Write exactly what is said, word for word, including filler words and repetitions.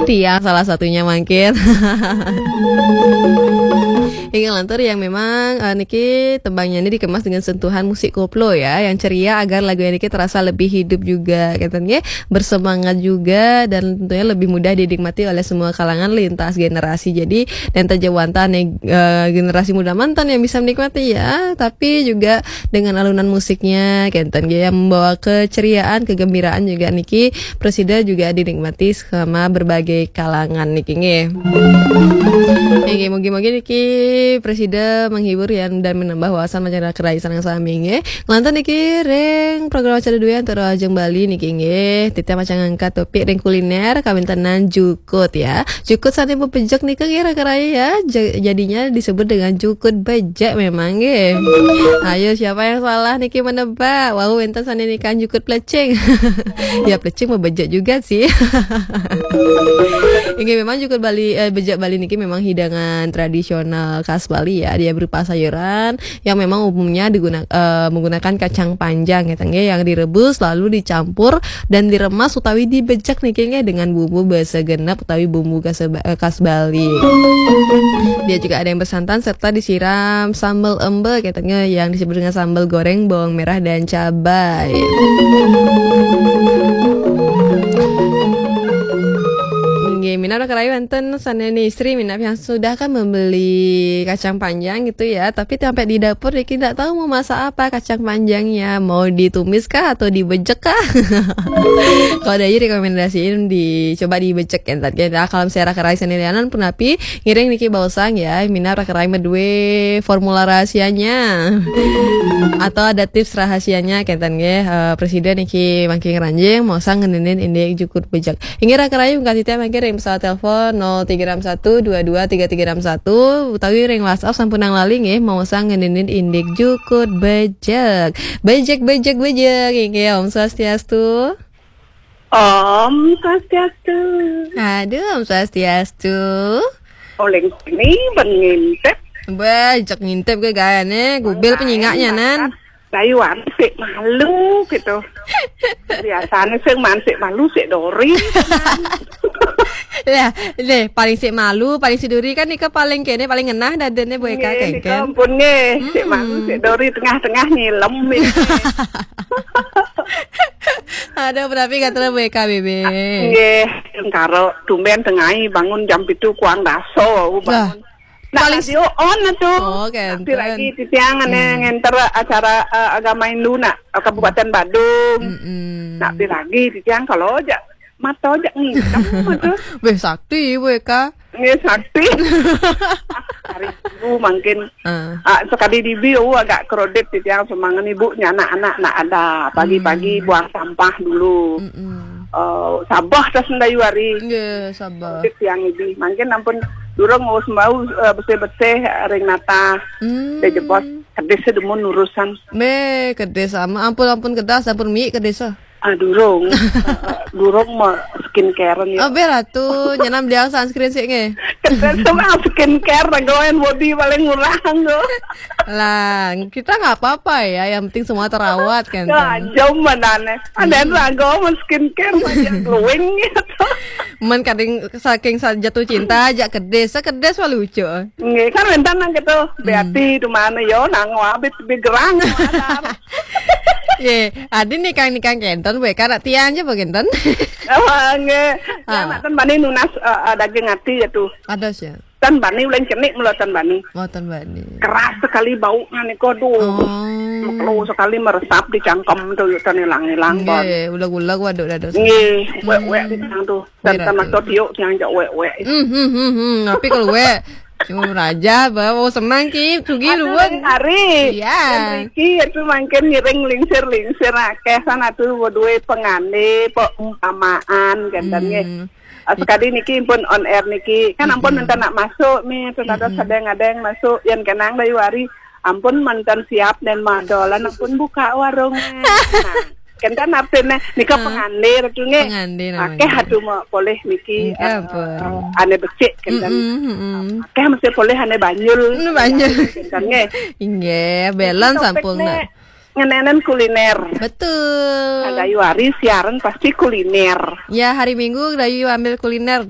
Tiang salah satunya mangkin. Inggih lantur yang memang, eh, niki tembangnya ini dikemas dengan sentuhan musik koplo ya, yang ceria agar lagunya niki terasa lebih hidup juga, kenten nggih, bersemangat juga, dan tentunya lebih mudah dinikmati oleh semua kalangan lintas generasi. Jadi, dan terjawanta nih, eh, generasi muda mantan yang bisa menikmati ya, tapi juga dengan alunan musiknya, kenten nggih, yang membawa keceriaan, kegembiraan juga niki presida juga dinikmati sama berbagai kalangan niki nggih. Nggih, mugi-mugi niki presida menghibur ya dan menambah wawasan masyarakat rakyat sareng sami nggih. Lantas niki ring program acara dua antara Ajeng Bali niki nggih. Titah macam ngangkat topik ring kuliner kawintenan jukut ya. Jukut sane bebejek nika nggih raka rai ya. Ja- jadinya disebut dengan jukut bejek memang nggih. Ayo siapa yang salah niki menebak? Wau wenten sane nika jukut plecing. Ya plecing mah bejek juga sih. Ini memang jukut Bali, eh, bejek Bali niki memang hidangan tradisional khas Bali ya. Dia berupa sayuran yang memang umumnya diguna, eh, menggunakan kacang panjang ya, tengge, yang direbus lalu dicampur dan diremas utawi dibejek niki nggih dengan bumbu basa genep utawi bumbu khas, eh, khas Bali. Dia juga ada yang bersantan serta disiram sambal embe katanya yang disebut dengan sambal goreng bawang merah dan cabai. Nggih, minab raka rai wenten sane istri minab yang sudah kan membeli kacang panjang gitu ya, tapi sampai di dapur niki ndak tahu mau masak apa kacang panjangnya, mau ditumis kah atau dibejek kah? Kalau dari rekomendasiin dicoba dibejek ya tadi. Nah, kalau misalnya raka rai sendirianan pun tapi ngiring niki bausang ya, minab raka rai medue formula rahasianya atau ada tips rahasianya kenten nggih, eh, presiden niki mangkin ranjing mau sang ngenenin indik jukut bejek. Inggih raka rai mungkin titah mangkin ring pesawat telepon nol tiga enam satu dua dua tiga tiga enam satu utawi ring WhatsApp sampun nang lali nggih mau sang ngenenin indik jukut bejek. Bejek bejek bejek inggih Om Swastiastu. Om Swastiastu. Aduh, Om Swastiastu. Oleh ini ben ngintip. Bejek ngintip ke gayane, gubil penyingaknya nan. Dayuan sik malu gitu. Biasanya sing man sik malu sik dori. Lah, deh paling sik malu, paling sik duri kan nika paling kene paling ngenah dadene Bu Eka. Nggih, nika kengken. Ampun nggih, sik malu sik dori tengah-tengah nyilem. Ada berarti kata Bu Eka Bebe. Nggih, karo tumben tengai bangun jam pitu kuang daso, bangun. Nah, paling radio on atuh. Oh, kenten. Tapi lagi titiang ane ngenter acara, eh, agama Hindu nak, eh, Kabupaten Badung. Mm-mm. Nak pi lagi titiang kalau aja mata aja ngitem atuh. Beh sakti Bu Eka. Nggih sakti. Hari Minggu mungkin. Ah, sekali dibi, oh, agak kredit titiang semangat ibu nya anak-anak nak ada pagi-pagi buang sampah dulu. Mm-mm. Eh, sabah tas mendayu hari. Nggih, sabah. Kredit tiang ibi. Mungkin ampun durung ngurus bau, eh, bersih-bersih ring nata. Hmm. Dia jebos kedis demun urusan. Me kedis sama ampun ampun kedas ampun mi kedis. Ah, durung. Eh, durung mah skincare ya. Oh, ber atuh, nyenam dia sunscreen sih nge. Kedis mah skincare, goen body paling murah nggo. Lah, kita nggak apa-apa ya, yang penting semua terawat kan. Ya, jauh manane. Ada yang ragu sama skincare mah glowing gitu. Men kadang saking sa- jatuh cinta aja kedis, kedis wah lucu. Nggih, kan wenten nang gitu. Beati di mana yo nang wabit begerang. Ye, adi nikang nikang kenten, Bu Eka nak tiang aja Bu kenten. Oh, nggih. Ya, nak ten bani nunas, eh, eh, daging ati ya tuh. Ada sih. Ten bani ulen cenik mula ten bani. Oh, ten bani. Keras sekali baunya nih, aduh. Oh. Mekelo sekali meresap di cangkem tuh yuk ten hilang-hilang. Nggih, uleg-uleg waduh dados. Nggih, wek-wek di tang tuh. Dan sama to tiuk yang jak wek-wek. Hmm, hmm, hmm, hmm. Tapi kalau wek, cuma raja, bawa semangki, sugi luwet. Hari. Iya. Dan Riki itu mungkin ngiring lingsir-lingsir akeh sana tuh dua pengande, pok umpamaan, kan, dan nggih. Hmm. Ah, sekali niki pun on air niki. Kan ampun minta nak masuk nih, ternyata sedang ada yang masuk, yang kenang dari wari. Ampun mantan siap dan madolan ampun buka warung. Nah, kenten artine nika pengandir tuh nggih. Pengandir namanya. Akeh atuh mau poleh niki, eh, ane becik kenten. Mm-mm, mm-mm. Akeh mesti poleh ane banyul. Mm, banyul. Kenten nggih. Inggih, belan sampun nak. Ngenenen kuliner. Betul. Kadayu hari siaran pasti kuliner. Ya, hari Minggu Dayu ambil kuliner